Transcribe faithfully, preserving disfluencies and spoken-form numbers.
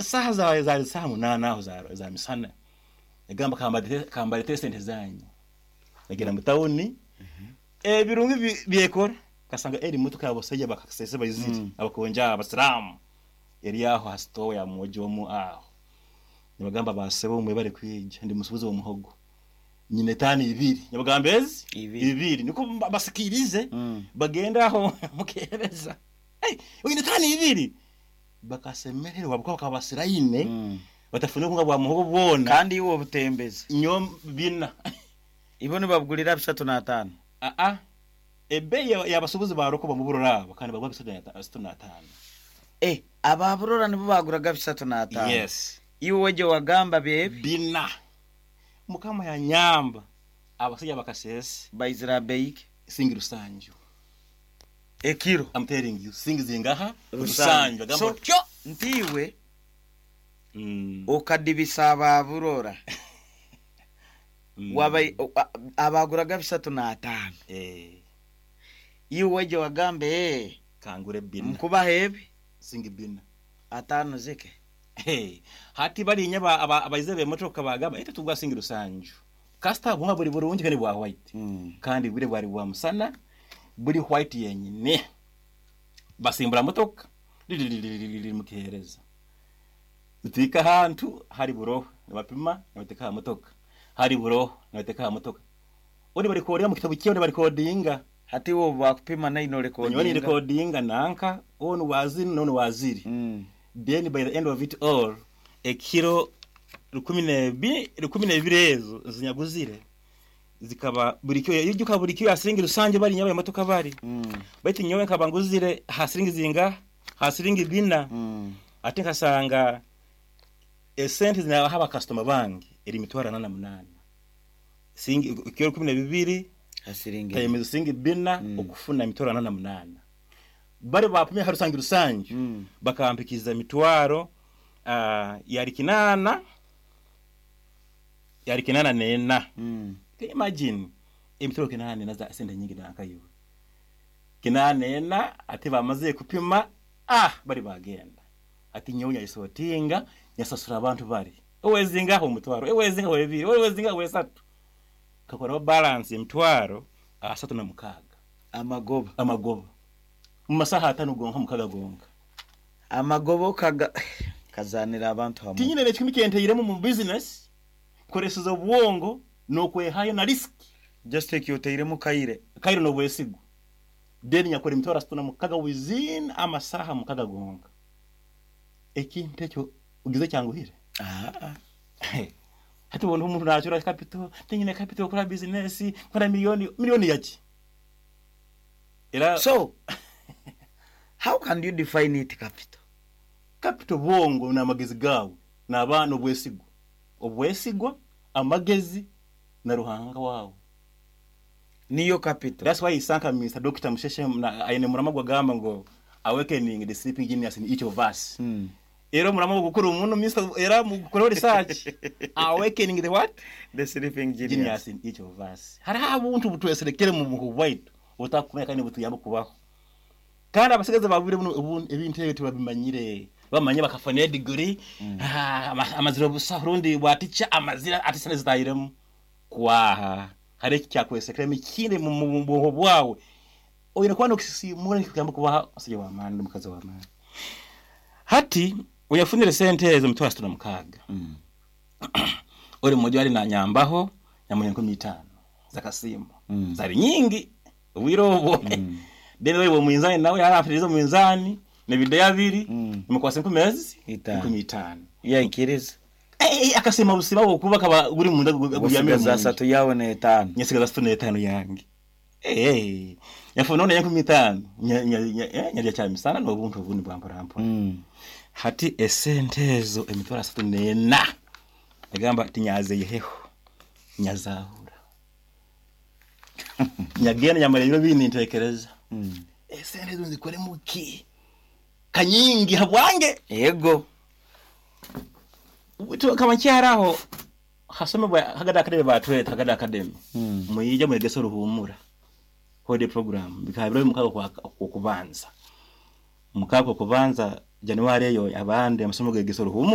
Saha zawe zari saha munana aho za, za misana. Yagamba kambalete kambalete sente zanyu. Nagenda mu tawuni, ebirungi bi- byekora kasanga eri motoka yabasajja bakasese baizire, Mm. abakonja abasiramu eri aho ha store ya mwojo omu aho. Nibagamba, "Basebo, mwebale kwija, ndi musubuzi w'omuhogo, nyine tani ibiri." Nibagamba ezi Ibiri. Ibiri niko ba- basikirize. Mm. Bagenda aho mukereza, hey, oyine tani ibiri, bakasemererwa buko bakabasiraine. Mm. Batafune kunga bwa muhogo bwona. Kandi iwe obutembezi. Nyo bina. Ibo nibabugulira bisatu n'ataano. Aa, ebbeeyi y'abasuubuzi baroko bamuburora abo kandi bagwa bisatu na bisatu n'ataano. Eh, ababurora nibo baguraga bisatu n'ataano? Yes. Iwe weje wagamba byebi? Bina. Mukama yanyamba, abasajja bakasese. Baizira beiki? Singi rusanju. Ekiro? I'm telling you, singi zingaha? Rusanju. Agamba So tyo. Ntiwe Mm. okadibisa ababurora. Mm. Waba abaguraga bisatu n'ataano. Eh. Iwe weje wagambe, eh, kangure bina. Nkubaha ebi. Singi bina. Ataano zike. Hey, hati barinya aba- aba- abayize b'emotoka bagamba ete tugwa singi rusanju kasita bunga buri burungi kandi bwa white. Mm. Kandi bure bwari bwa musana, buri white yenyine. Basimbura motoka mukihereza, tutwika ahantu hari buroho, nibapima, nibateka aha motoka, hari buroho, nibateka aha motoka, undi barikodinga mu kitabu kiyo, barikodinga. Hati wo bakupima naino Nyowe rekodinga. Recordinga nanka onu waziri nonu waziri. Mm. Then by the end of it all, ekiro rukumi nebi rukumi nebiri ezo zinyaguzire zikaba buri kyo yijuka buri kyo yasiringi rusange bari nyabaye motoka bari. Mm. Baitu nyowe nkaba nguzire hasiringi zinga hasiringi bina. Mm. Ate nkasanga esente zinabaha abakasitoma bange eri mitwaro ana na munana, singi kiro kumi na bibiri. Hasiringi. Tayemeza singi bina. Mm. Okufuna mitwaro ana na munana bari bapimye harusangi rusange. Mm. Bakampikiza emitwaro uh, yari kinana yari kinana nena. Mm. Can you imagine emitwaro kinana nena za sente nyingi nankayiwe kinana nena? Ate bamaze kupima, ah, bari bagenda, ati nyowe nyayisotinga, nyasasura abantu bari owezingaho omutwaro, ewezingaho ebiri, owezingaho esatu, kakoraho balance emitwaro asatu na mukaaga. Amagoba. Amagoba mu masaha atano gonka, mukaga gonka. Amagoba okaga kazanira abantu hamwe. Tinyine nekikumi kyenteiremu mu business, koreseza obwongo n'okwehayo na risk. Just take yoteiremu kaire. Kairo n'obwesigwa, then nyakora emitwaro asatu na mukaga within amasaha mukaga gonka. Ekintu ekyo ugize kyanguhire? Ah. Hati ubona umuntu nacura capital, tinyine capital kora business, kora miliyoni miliyoni yaki era. So how can you define it, capital? Capital bwongo n'amagezi gawe n'abaana, obwesigwa obwesigwa amagezi na Ruhanga wawe. Niyo capital. That's why isanka Mister Doctor Musheshe na aine murama gwagamba ngo "awakening the sleeping genius in each of us". mm. Era murama gukuru umuntu Mister era mukora research, awakening the what? The sleeping genius. Genius in each of us. Hariho abuntu butweserekere mu buhu bwaitu butakumenya kandi butuyamba kubaho, kandi abasigazi babure buno ubu- ebintu ebyo tebabimanyire. Bamanye bakafuna degree. Ah, ama- amazira busa rundi bwatica amazira ati sente zitahiremu kwaha. Hari ekikyakwesikeremu ikindi mu mu buhu bwawe oyine kuba nokusisimura nikikuyamba kubaha omusajja w'amaani n'omukazi w'amaani. Hati oyafunire sente ezo mitwaro asatu na mukaaga. Mm. Ori mmoja wali nanyambaho nyamuha enkumi itaano zakasimu. Mm. Zari nyingi obwire obwo. Mm. Then wewe mwinzani nawe yarafiriza mwinzani nebideya abiri. Mm. Nimukwasa enkumi ezi. Itaano. Enkumi itaano. Yaikiriza. Eh, eh, akasima busima bwokuba kaba guri munda guryamire. Gusigaza asatu yawe n'etaano. Nyasigaza asatu n'etaano yange. Eh, eh. Nyafuna none enkumi itaano. Nya- nya- nya- eh, nyarya kyamisana n'obuntu obundi bwamporampora. Mm. Hati esente ezo emitwaro asatu n'ena egamba tinyazeyeheho, nyazahura, nyagenda nyamara ebiro bindi ntekereza, Mm. esente ezo nzikoremu ki kanyingi habwange? Ego. Kama nkyaraho hasomebwa Hagada Academy, batweta Hagada Academy. Mm. Mwije mwegese oruhumura holiday program bikaba biro mukago kwa kubanza, mukago kubanza January eyo, abandi amasomo gegesa oruhumura.